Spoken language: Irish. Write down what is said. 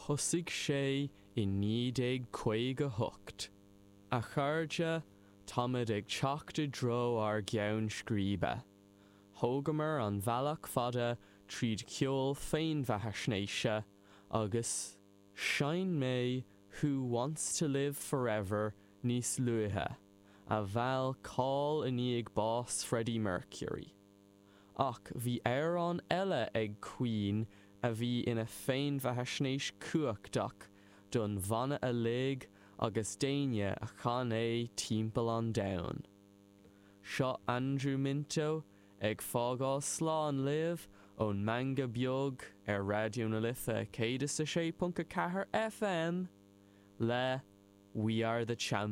Thosaigh sé i 1958. A chairde, táimid ag teacht i dtreo ár gceann scríbe. Thógamar an bealach fada tríd ceol féinbheathaisnéise agus sheinn mé Who Wants to Live Forever níos luaithe, a mheall cáil i ndiaidh bás Freddie Mercury. Ach bhí amhrán eile ag Queen a bhí ina féinbheathaisnéis cumhachtach don bhanna uilig agus d'éinne a chan é timpeall an domhain. Seo Andrew Minto ag fágáil slán libh ón Meangadh Beag ar Raidió na Life 106.4 FM le We Are the Champions.